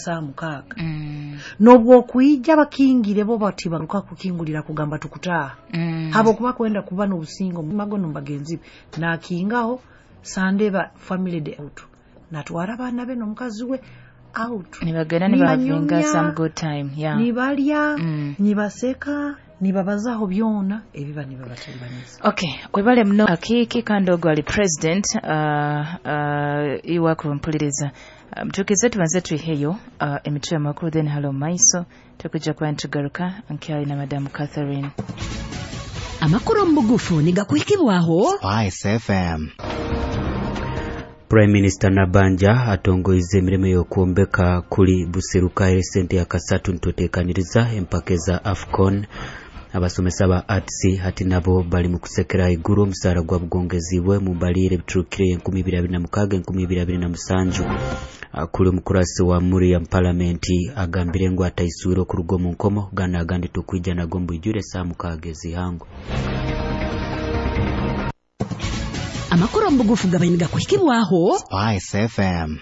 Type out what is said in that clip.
Saa 6 n'obwokwija bakingire, bo bati baruka kukingulira kugamba tukutaaha, habwokuba kwenda kuba n'obusingo magono bagenzi be. Nakingaho Sunday ba family day out, natwara abaana be n'omukazi we out. Nibagenda nibahavinga Nibanyumya, some good time, yeah. Nibalya, nibaseeka, nibabazaho byona ebiba nibabatalibaniza. Okay, webale muno akiiki. Kandi ogwo ali president iwe kumpuliriza. Mtukize tubanze twiheyo emitwe y'amakuru, then halo maiso tukujja kuba nitugaruka nkyali na Madamu Catherine. Amakuru omu bugufu nigakuhikibwaho Spice FM. Prime Minister Nabanja atongoize emirimo y'okwombeka kuli Buseruka esente ya kasatu. Nitwetekaniriza empaka eza AFCON. Abasomesa ba arts hati nabo bali mu kusekera iguru omusaara gwa bugongezibwe mu mbalire ebiturukire 2026 2027. Kuli omukurasi wa Muriya palamenti agambire ngu ataiswire okuruga omu nkomo. Gana agandi tukwija nago mbwijure saa 6 ezihango. Amakuru omu bugufu gabaire nigakuhikibwaho Spice FM.